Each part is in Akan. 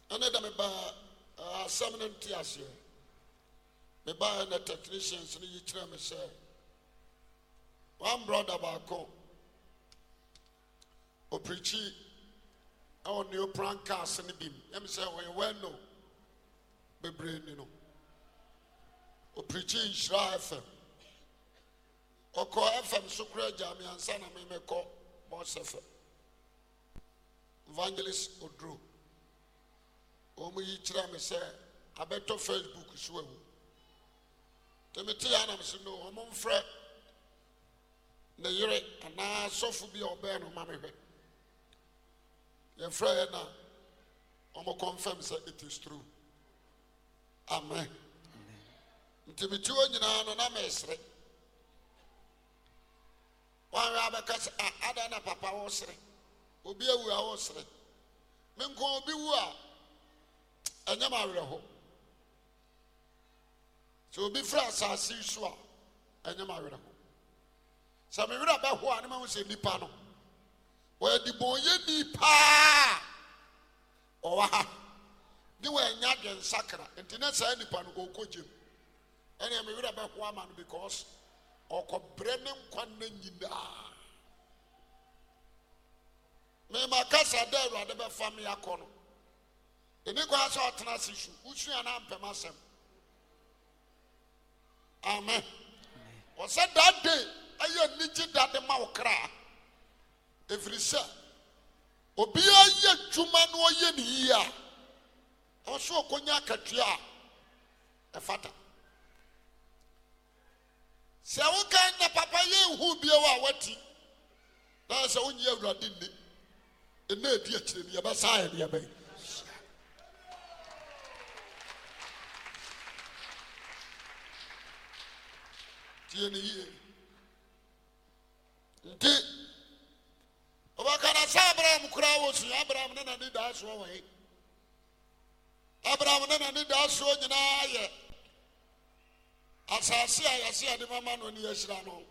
Ɛne da mebaa asɛm no nte aseɛ. Mebaeɛ na technicians no yi kyerɛ me sɛ one brother baako ɔpirikyi ɛwɔ neopran cars no bi mu. Ɛm sɛ ɔyɛ well known bebree ni no. Ɔpirikyi Nhyira FM. Ɔkɔɔ FM so koraa gyaa me ansa na me mekɔ Boss FM. Evangelist Oduro. Wɔn yi kyerɛ me sɛ abɛtɔ Facebook so awu. Nti mete ya na mese no wɔn mfrɛ ne yere anaa sɔfo bi a ɔbɛn no ma mehwɛ. Yɛfrɛ yɛ na wɔn confirm sɛ it is true. Amen. Nti mete hɔ nyinaa no na mesere. Wanhwɛ abɛka sɛ ah adɛn na papa wosere. Obi awu a wosere. Me nko obi wu a ɛnyɛ me awerɛho. Sɛ obi firi asase yi so a ɛnyɛ me awerɛho. Sɛ me werɛ bɛho a ne mahu sɛ nipa no wɔyɛ debɔnyɛni paa. Ɔwɔ ha ne wannya adwensakra nti na saa nipa no ɔkɔ gyem. Ɛnea me werɛ bɛho ama no because ɔkɔbrɛ ne nkwa nna nyinaa. Mema kasa dɛ Awurade bɛfa me akɔ no. Ɛni kwan sɛ ɔtena ase su, wosua no ampɛm asɛm. Amen. Ɔsɛ that day ɛyɛ anigye da de ma wo kra. Ɛfiri sɛ obiara yɛ adwuma na ɔyɛ ne yie a, ɛwɔ sɛ ɔkɔnya akatua a ɛfata. Sɛ woka na papa yɛ nhu bio a wati na sɛ wonye Awurade nni ɛna ɛdi akyire no yɛbɛsa ayɛ deɛ bɛn. Tie ne yie. Nti ɔbɛka na sɛ Abraham koraa wɔ sua Abraham ne n'ani daa soɔ wɔ he? Abraham ne n'ani daa soɔ nyinaa yɛ asase a yɛse yɛde mama no ne yɛahyira no.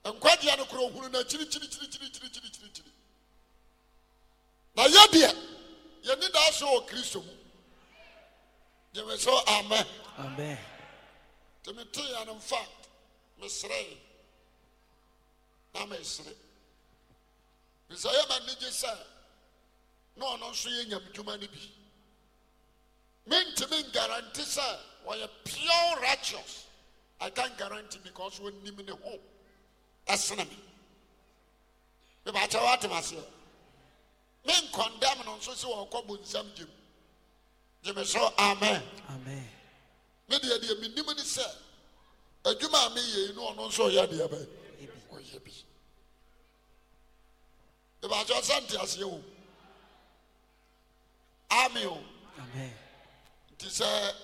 Nkwagyeɛ no korɔ ohunu no akyirikyirikyirikyirikyirikyiri. Na yɛ deɛ yɛni daa soɔ wɔ Kristo mu. Gyeme so amen. Amen. Nti metee no mfa meseree na mesere. Fisɛ yɛ ma anigye sɛ na ɔno nso yɛ nyamedwuma no bi. Mentumi nguarantee sɛ ɔyɛ pure righteous. I can't guarantee because onim ne ho ɛsene me. Mebakyɛ woatem aseɛ. Me nkɔndɛm no nso sɛ ɔkɔ bonsam gyem. Gyeme so amen. Amen. Me deɛ deɛ menim ne sɛ adwuma a meyɛ yi no ɔno nso ɔyɛ deɛ bɛn ɔyɛ bi. Mebakyɛ sɛ nteaseɛ o. Amen o. Amen. Nti sɛ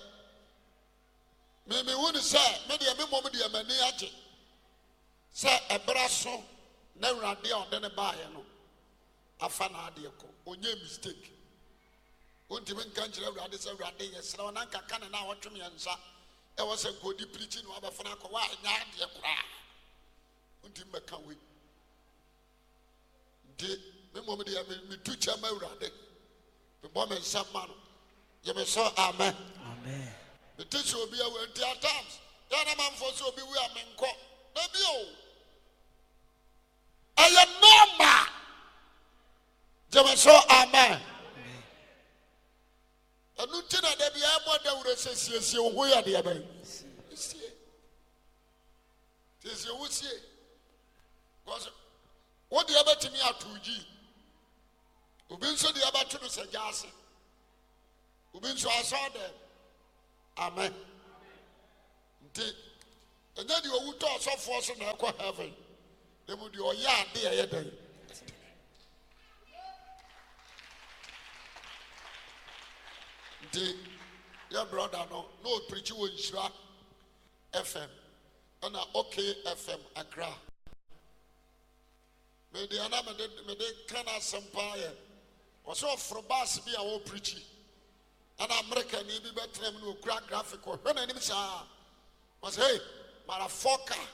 me mehu ne sɛ me deɛ me mmom deɛ m'ani agye sɛ ɛberɛ so na Awurade a ɔde ne baeɛ no afa n'adeɛ kɔ. Ɔnyɛ mistake. Wontumi nka nkyerɛ Awurade sɛ Awurade yɛsrɛ wo na nka ka ne na ɔtwe mmiɛnsa ɛwɔ sɛ nka ɔde pirikyi na wabɛfa no akɔ woanyɛ adeɛ koraa. Wontumi bɛka wei. Nti me mmom deɛ metu kyɛ ma Awurade. Mebɔ me nsam ma no. Gye me so amen. Amen. Mete sɛ obi awu nti at times yɛ na manfoɔ sɛ obi wu a menkɔ. Da bi o. Ɛyɛ normal. Gye me so amen. Ɛno nti na da bi ɛbɔ dawuro sɛ siesie wo ho yɛ deɛ bɛn. Sie. Siesie wo sie. Because wo deɛ bɛtumi ato gyi. Obi nso deɛ bɛto no sɛ gya ase. Obi nso asɔ dɛm. Amen. Nti ɛnyɛ deɛ owu tɔ ɔsɔfoɔ so na ɛkɔ heaven. Na mu deɛ ɔyɛ ade a ɛyɛ dɛn. Nti yɛ brɔda no na ɔpirikyi wɔ Nhyira FM ɛna OK FM Accra. Me deɛ na mede mede ka n'asɛm paa yɛ ɔsɛ ɔforo baase bi a ɔreprikyi ɛna Amerikani bi bɛtena mu na ɔkura graphic ɔhwɛ n'anim saa ɔsɛ hey motherfucker.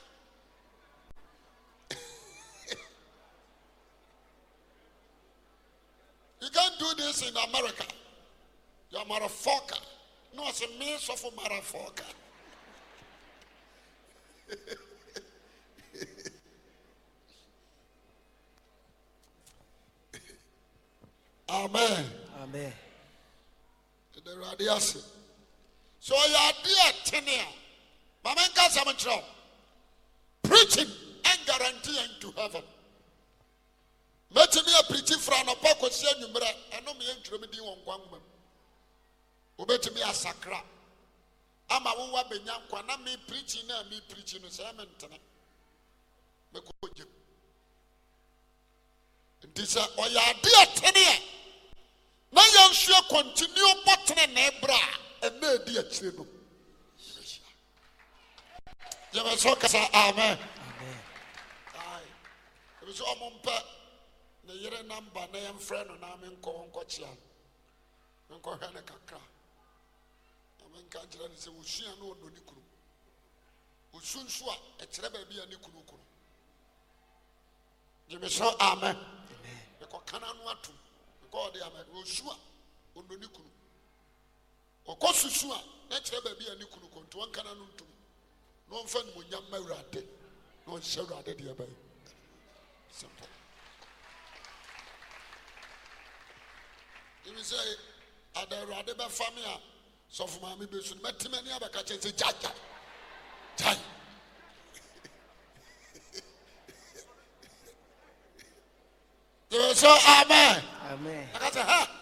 You can't do this in America. You are motherfucker. Na ɔse me sɔfo motherfucker. Amen. Amen. Ɛda Awurade ase. Sɛ ɔyɛ adeɛ a ɛtene a, ma menka asɛm nkyerɛ wo. Preaching and guarantee yɛn to heaven. Mɛtumi apirikyi fra anɔpa kɔsi anwummerɛ, ɛno meɛ ntwerɛ me din wɔ nkwa nwoma mu. Wobɛtumi asakra ama wowɔ abɛnya nkwa na me preaching na me preaching no sɛ mentene mɛkɔ gyam. Nti sɛ ɔyɛ ade a ɛtene a, na yɛn nso yɛ continue bɔ tenenee berɛ a ɛna ɛdi akyire no yɛbɛhyia. Gyeme so kasa amen. Ebi sɛ ɔmo mpɛ ne yere namba na yɛmfrɛ no na menkɔ hɔ nkɔkyea no menkɔhwɛ no kakra na menka nkyerɛ no sɛ wɔsua na ɔdɔ ne kunu ɔsu nso a ɛkyerɛ baabi a ne kunu kunu. Gyeme so amen. Mekɔ kana no atom. Mekɔ ɔde amen. Osu a ɔno ne kunu. Ɔkɔ susu a na kyerɛ baabi a ne kunu kɔ nti ɔnkana no ntom. Na ɔmfa nimonyam ma Awurade. Na ɔnhyɛ Awurade deɛ bɛyɛ. Simple. Ebi sɛ ada Awurade bɛfa me a sɔfo maame bɛsu no mɛte m'ani abɛka kyɛn sɛ gyae gyae gyae. Gyeme sɛ amen. Amen. Aka sɛ ha.